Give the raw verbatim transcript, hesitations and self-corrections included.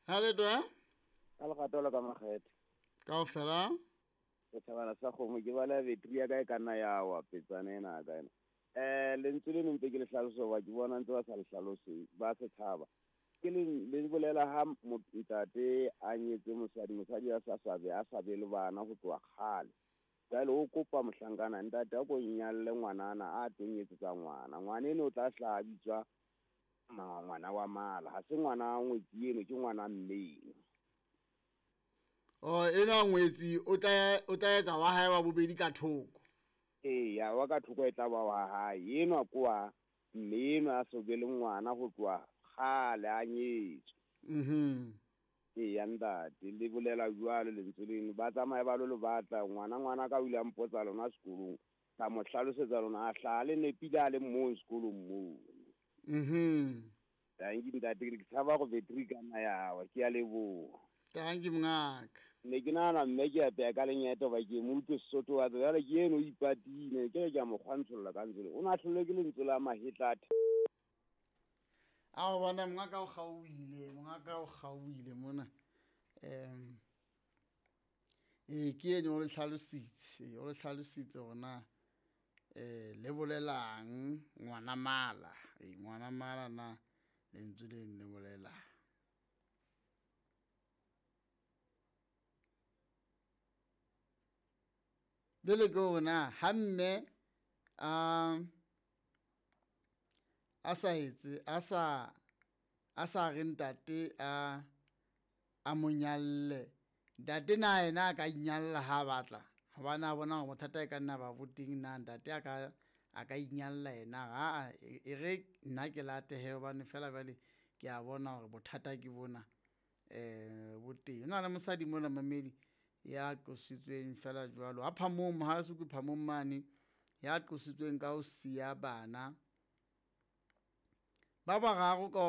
Ha le twa? Ka lerato la ka makgethe. Kaofela? Setjhabana sa kgomo ke bala betri ya ka e ka nna ya wa petsana ena ka ena. Eh lentswe le ntse ke le hlalosa hoba ke bona ntse ba sa le hlalose ba setjhaba. Ke le le bolela ha ntate a nyetse mosadi, mosadi a sa sabe a sa be le bana ho tloha kgale. Jwale o kopa mohlankana ntate a ko nyalle ngwanana a tlo nyetsetsa ngwana. Ngwana eno o tla hlaha bitswa ngwana wa mala, ha se ngwana ngwetsi eno ke ngwana mme eno. Oh ena ngwetsi o tla o tla etsa wa hae wa bobedi ka thoko. Ee, ya wa ka thoko e tla ba wa hae. Enwa ke wa mme eno a so be le ngwana ho tloha kgale a nyetswe. Mhm. Ee, ntate le bolela jwalo lentswe leno, ba tsamaye ba lo le batla ngwana ngwana ka o ile a mpotsa lona sekolong, ka mo hlalosetsa lona a hlaha le nepile a le mong sekolong moo. Mhm. Tanki ntate ke tshaba go betri ka nna ya wa, ke a leboha. Tanki mongaka. Ne ke nahana mme ke apeya ka lenyeta hoba ke mo utlwe Sesotho wa jwale ke eno o ipatile, ke re ke a mo kgwantsholla ka lentswe leo. O na hlolwe ke lentswe la mahetla a A o bona mongaka o kgaohile, mongaka o kgaohile mona. Em eh ke eno o le hlalositse, o le hlalositse hore na eh le bolelang ngwana mala, eh ngwana mala na lentswe leno le bolelang. Jwale ke hore na ha mme a a sa etse a sa a sa re ntate a a mo nyalle, ntate na yena a ka inyalla ha batla hobane a bona hore bothata e ka nna ba bo teng, na ntate a ka a ka inyalla yena ha e re nna ke latehe hobane fela jwale ke a bona hore bothata ke bona eh bo teng. Ho na le mosadi mona mamedi ya qositsweng fela jwalo ha Phamong ha se ke Phamong mane ya qositsweng ka ho siya bana ba bararo ka